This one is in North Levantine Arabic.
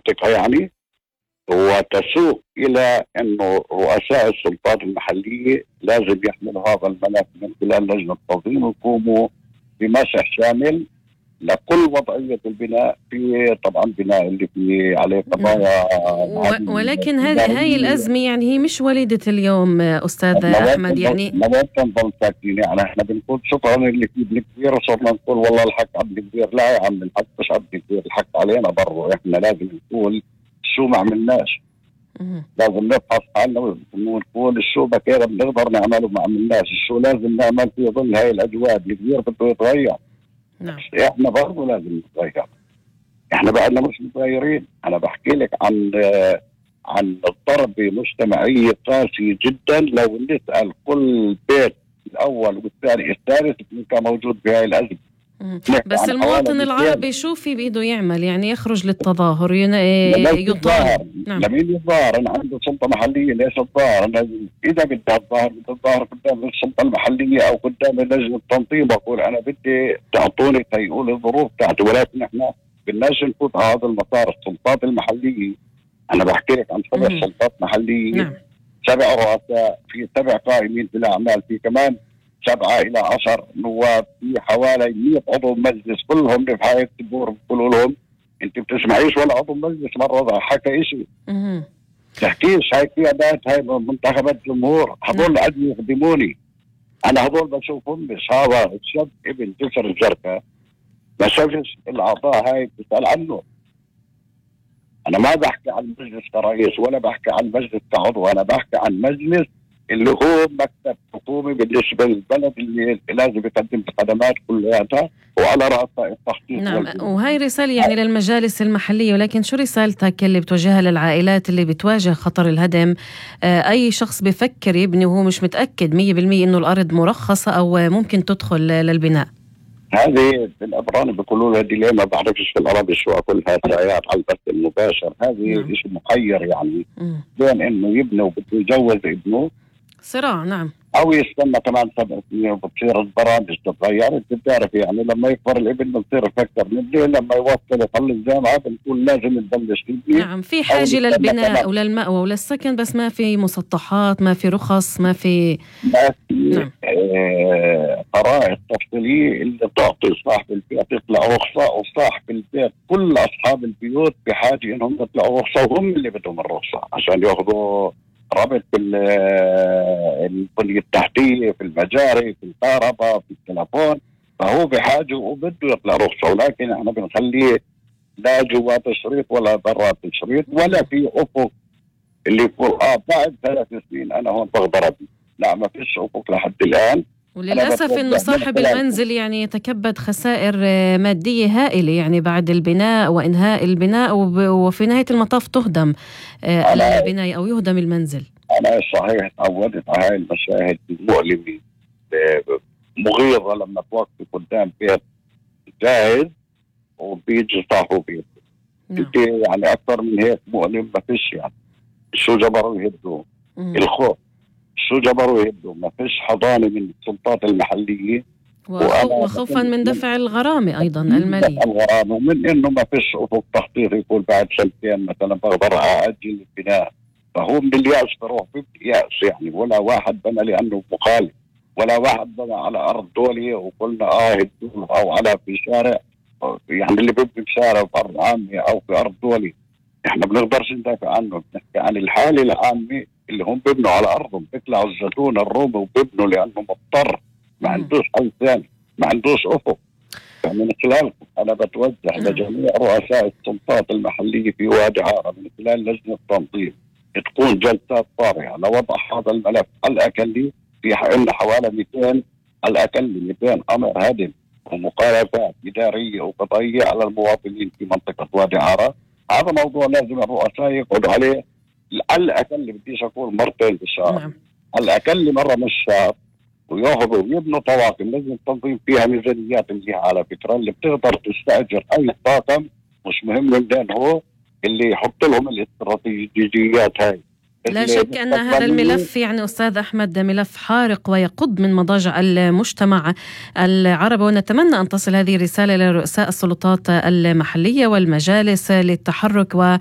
المنطقة يعني، وتسوق إلى أنه رؤساء السلطات المحلية لازم يحملوا هذا الملف من خلال لجنة التنظيم ويقوموا بمسح شامل لكل وضعية البناء، في طبعا بناء اللي فيه عليه قضايا. ولكن هاي الأزمة يعني هي مش وليدة اليوم أستاذ أحمد، يعني ما تنضل ساكتين. يعني احنا بنقول شكرا اللي فيه ابن كبير، وصرنا نقول والله الحق عبد كبير. لا يا عم، الحق مش عبد كبير، الحق علينا برضه. احنا لازم نقول شو ما عملناش، لازم نفحص حالنا ونقول شو بكير بنقدر نعمله ما عملناش، شو لازم نعمل في ظل هاي الأجواء. الكبير بده يتغير، نعم. احنا برضه لازم نتغير، احنا بعدنا مش متغيرين. انا بحكي لك عن الضرب مجتمعية قاسية جدا. لو نسأل كل بيت الأول والثاني الثالث كان موجود بهاي الأزمة. بس المواطن العربي شو في بإيده يعمل؟ يعني يخرج للتظاهر يطالب. لمين يتظاهر؟ أنا عندي سلطة محلية، ليش الظاهر؟ إذا بدي الظاهر قدام السلطة المحلية أو قدام لجنة التنظيم، بقول أنا بدي تعطوني تيقول الظروف تاعتي. ولكن إحنا بدناش نفوت على هذا المسار. السلطات المحلية، أنا بحكي لك عن 7 سلطات محلية. نعم. 7 رؤساء، في 7 قائمين في الأعمال، في كمان 7 إلى 10 نواب، في حوالي 100 عضو مجلس، كلهم بحاجة تبور بيقولوا لهم انت بتسمعيش ولا عضو مجلس مرة حكى اشي. تحكيش هاي قيادات، هاي منتخبات جمهور، هذول قد يخدموني انا. هذول بشوفهم مش هذا الشاب ابن جسر الجركة ما شافش الاعضاء هاي بتسأل عنه. انا ما بحكي عن المجلس كرئيس ولا بحكي عن المجلس كعضو، انا بحكي عن مجلس اللي هو مكتب حكومي بالنسبة للبلد اللي لازم يقدم الخدمات كلها، وعلى رأسها التخطيط. نعم. وهي رسالة يعني للمجالس المحلية، ولكن شو رسالتك اللي بتوجهها للعائلات اللي بتواجه خطر الهدم؟ أي شخص بفكر يبني وهو مش متأكد 100% إنه الأرض مرخصة أو ممكن تدخل للبناء. هذه بالأبران بيقولوا لها ديليما، بعرفش في العربي شو أقولها، ساعات على البث المباشر. هذه شيء محير يعني بين إنه يبني وبده يجوز ابنه، صراع. نعم. أو يستنى كمان 7 سنين وبتصير البرامج تتغير. أنت بتعرف يعني لما يكبر الابن بنصير نفكر نبني، لما يوصل يخلص الجامعة بنقول لازم نبلش نبني. نعم، في حاجة للبناء وللمأوى وللسكن، بس ما في مسطحات، ما في رخص، ما في نعم. قرائن تفصيلية اللي تعطي صاحب البيت يطلع رخصة، وصاحب البيت كل أصحاب البيوت بحاجة إنهم يطلعوا رخصة، وهم اللي بدهم الرخصة عشان ياخذوا ربط البنية التحتية، في المجاري، في الكهرباء، في التلفون. فهو بحاجة وبده يطلع رخصة، ولكن احنا بنخليه لا جوا تشريط ولا برا تشريط ولا في أفق اللي يقول بعد 3 سنين أنا هون بقدر أبني. لا، ما فيش أفق لحد الآن. وللأسف إنه صاحب المنزل يعني يتكبد خسائر مادية هائلة يعني بعد البناء وإنهاء البناء، وفي نهاية المطاف تهدم البناية أو يهدم المنزل. أنا صحيح تعودت على هاي المشاهد المؤلمة مغيظة لما توقف قدام بيت جاهز وبيجي صاحبه بيت. يعني أكثر من هيك مؤلم ما فيش. يعني شو جبروا يهدوا؟ الخوف. شو جبروا يهدوا؟ ما فيش حضانة من السلطات المحلية، وخوفا من دفع الغرامة أيضا المالية. الغرامة، ومن إنه ما فيش أفق تخطيط يقول بعد 2 سنين مثلا بقدر أأجل البناء. فهو من اليأس بروح بيأس يعني. ولا واحد بنى لأنه مخالف، ولا واحد بنى على أرض دولية وقلنا هدوه، أو على في شارع يعني اللي بيبني بشارع في أرض عامة أو في أرض دولي إحنا بنقدرش ندافع عنه. بنحكي عن الحالة العامة اللي هم بيبنوا على أرضهم، بيطلعوا الزيتون الرومي وبيبنوا لأنه مضطر، ما عندوش حل ثاني، ما عندوش أفق. فمن خلالكم أنا بتوجه لجميع رؤساء السلطات المحلية في وادي عارة من خلال لجنة التنظيم تكون جلسات طارئة لوضع هذا الملف. على الأقل في عندنا حوالي 200 على الأقل 200 أمر هدم ومخالفات إدارية وقضائية على المواطنين في منطقة وادي عارة. هذا موضوع لازم الرؤساء يقعدوا عليه على الأقل، بديش أقول مرتين بالشهر، على الأقل مرة من الشهر، وياخذوا ويبنوا طواقم. لازم التنظيم فيها ميزانيات منيحة على فكرة، اللي بتقدر تستأجر أي طاقم، مش مهم من هو اللي يحط لهم الاستراتيجيات هاي. لا شك أن هذا الملف يعني أستاذ أحمد ملف حارق ويقض من مضاجع المجتمع العربي، ونتمنى أن تصل هذه الرسالة لرؤساء السلطات المحلية والمجالس للتحرك